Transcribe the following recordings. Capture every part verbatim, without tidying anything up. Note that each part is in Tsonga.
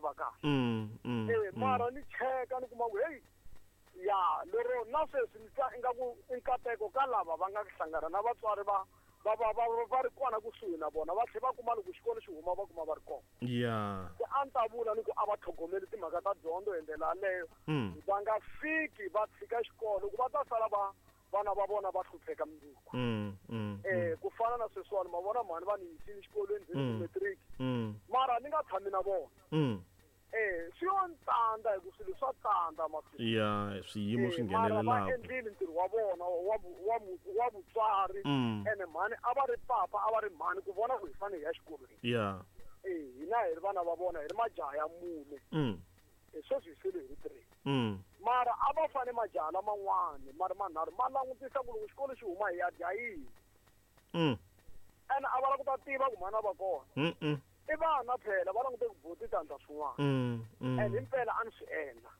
va kahle. Mm, mm, Eh mm. mara ni cheka ni kuma ku hey ya lero na sweswi ni twa ingaku i nkateko ka lava va nga hlangana na vatswari va va va va va ri kona kusuhi na vona va tlhela va kuma loko xikolo xi huma va kuma va ri kona. Ya. Se a ni ta vula ni ku a va tlhogomeli timhaka ta dyondzo hi ndlela yaleyo. Mm. Va nga fiki va tshika xikolo ku va ta sala va vana va vona va hlupheka mundzuku. Mm, mm, Eh ku fana na sweswiwani ma vona mhani va ni yisile xikolweni ndzi Mm. matric mm, mara ni nga tshami na vona. mm. Eh swi yo ntsandza hi ku swilo swa tsandza masiku. Ya, swiyimo swi Eh, mara va nghenelelaka. endlile ntirho wa vona wa vu- wa vu- wa vutswari Mm. ene mhani a va ri papa a va ri mhani ku vona ku hi fanele hi ya xikolweni. Ya. Eh hina hi ri vana va vona hi ri majaha ya mune. Mm. Eh sweswi hi sele hi ri three. Mm. Mara a va fane majaha laman'wani ma ri manharhu ma langutisa ku loko xikolo xi huma hi ya dya yini. Mm. Ene a va lava ku ta tiva ku mhani a va kona. Mm. Mm. I vana phela va langute ku buti ta endla swin'wana. Mm. Mm. And himpela a ni swi endla.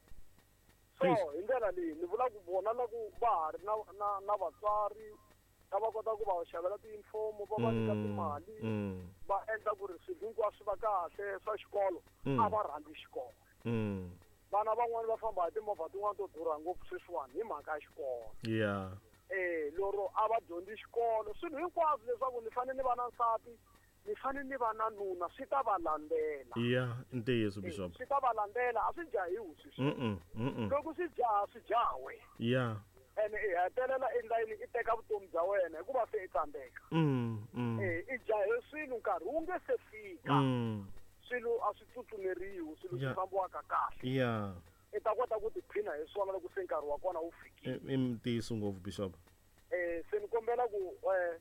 So Please. hi ndlela leyi ni vula ku vona la ku va ha ri na na na vatswari va va kota ku va xavela tiyunifomo va va nyika Mm. timali Mm. va endla ku ri swilo hinkwaswo swi va kahle swa xikolo Mm. a va rhandzi xikolo. Mm. Vana van'wani va famba hi timovha tin'wani to durha ngopfu sweswiwani hi mhaka ya xikolo. Ya. Eh lero a va dyondzi xikolo swilo hinkwaswo leswaku ni fanele ni va na nsati ni fanele ni va na nuna swi ta va landzela. Ya, i ntiyiso Eh, Bishop. swi ta va landzela a swi jahiwi sweswi. Mm. Mm. Loko swi jaha swi jaha wena. Ya. Ene i hetelela endla yini i teka vutomi bya wena hikuva se i tsandzeka. Mm. Mm. Eh i jahe swilo nkarhi wu nge se fika. Mm. Swilo a swi tsutsumeriwi swilo Ya. swi fambiwaka kahle. Ya. I ta kota ku tiphina hi swona loko se nkarhi wa kona wu fikile. I ntiyiso ngopfu Bishop. Eh se ni kombela ku eh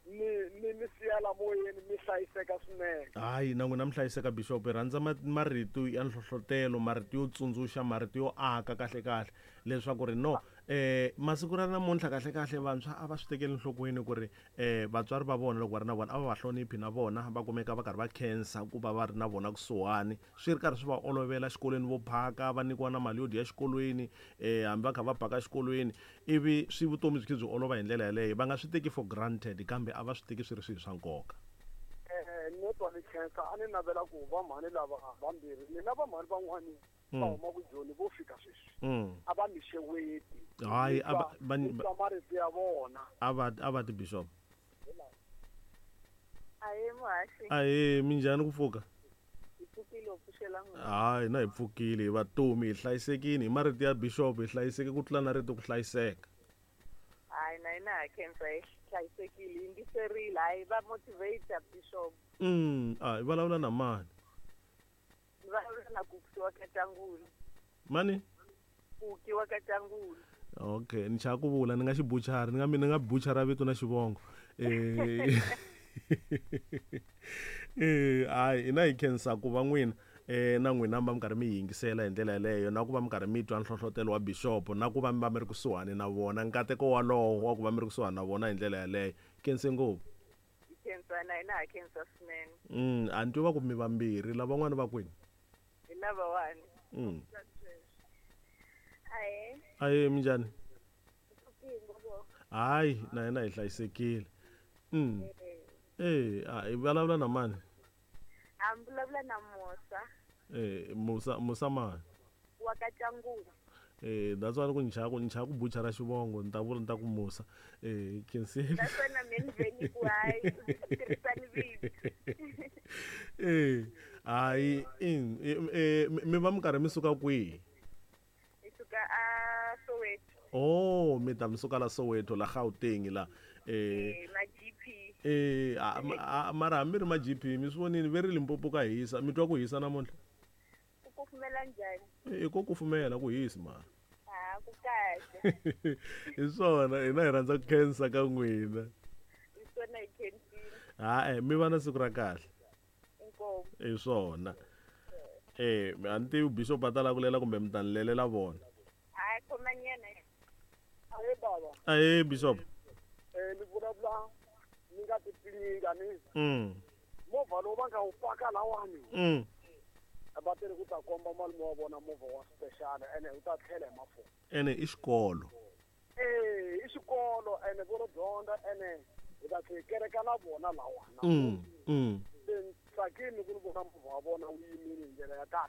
ni ni mi siyela moyeni mi hlayiseka swinene. Hayi na n'wina mi hlayiseka Bishop hi rhandza ma- marito ya nhlohlotelo marito yo tsundzuxa marito yo aka kahle kahle leswaku ri no eh masiku ra namuntlha kahle kahle vantshwa a va swi tekeli enhlokweni ku ri eh vatswari va vona loko va ri na vona a va va hloniphi na vona va kumeka va karhi va khensa ku va va ri na vona kusuhani swi ri karhi swi va olovela xikolweni vo phaka va nyikiwa na mali yo dya xikolweni eh hambi va kha va baka xikolweni ivi swi vutomi byi khe byi olova hi ndlela yaleyo va nga swi teki for granted kambe a va swi teki swi ri swilo swa nkoka. Eh no twa ni khensa a ni navela ku va mhani lava vambirhi ni na va mhani van'wani va Mm. huma ku Joni vo fika sweswi. Mm. A va mi xeweti. Hayi, a va- va- Ni twa marito ya vona. a va a va ti Bishop. Ahee muhaxi Ahee minjhani ku pfuka? hi pfukile u pfuxela n'wina. Hayi na hi pfukile hi vatomi hi hlayisekile hi marito ya Bishop hi hlayiseke ku tlula na rito ku hlayiseka. Hayi na hina ha khensa hi hlayisekile yingiserile hayi va motivate Bishop. Mm, a hi vulavula na mani? Ni vulavula na Kuki wa Katangulu. Mani? Kuki wa Katangulu. Okay, ni chava ku vula ni nga xi buchara ni nga ni nga buchara vito na xivongo. Eh Eh, hayi hina hi khensa ku va n'wina eh na n'wina mi va mi karhi mi yingisela hi ndlela yaleyo na ku va mi karhi mi twa nhlohlotelo wa Bishop na ku va mi va mi ri kusuhani na vona nkateko walowo wa ku va mi ri kusuhani na vona hi ndlela yaleyo. Khense ngopfu. Hi khensa na hina ha khensa swinene. Mm, a ni twi va ku mi vambirhi lavan'wana va kwini? Hi lavawani. Mm. Ahee, Ahee minjhani? pfukile ngopfu. Hayi na hina hi hlayisekile. Mm. Eh, a hi vulavula na mani? A mi vulavula na Musa Eh, Musa Musa mani? wa Katangulu. Eh, that's why ku ni chava ku ni chava ku buchara xivongo ni ta vula ni ta ku Musa. Eh, khensile. Naswona me ni ve ni ku hayi tirhisani vito. Eh, hayi in eh mi va mi karhi mi suka kwihi? Hi suka a Soweto. Oh, mi ta mi suka la Soweto la Gauteng la. Eh, Eh, ma G P. eh a- a- mara hambi ri ma G P mi swi vonile ve ri Limpopo ka hisa mi twa ku hisa namuntlha? Ku kufumela njhani? I ko kufumela ku hisi mara. Ha, ku kahle. Hi swona hina hi rhandza ku khensa ka n'wina. Hi swona hi khensile. Ha-e mi va na siku ra kahle. Inkomu. Hi swona. Eh, a ni tivi Bishop a ta lava ku lela kumbe mi ta ni lelela vona. Hayi khomanyana. Ahee baba. Ahee Bishop. Eh ni vulavula ni nga ti pfinyinga ni Mm. movha lowu va nga wu paka lawani. Mm. Va tele ku ta komba malume wa vona movha wa special ene wu ta tlhela hi mafurha. Ene i xikolo. Eh i xikolo ene vo lo dyondza ene hi ta tlhela hi kereka na vona lawa. Mm. Mm. Se ni tsakile ku ni vona movha wa vona wu yimile hi ndlela ya kahle.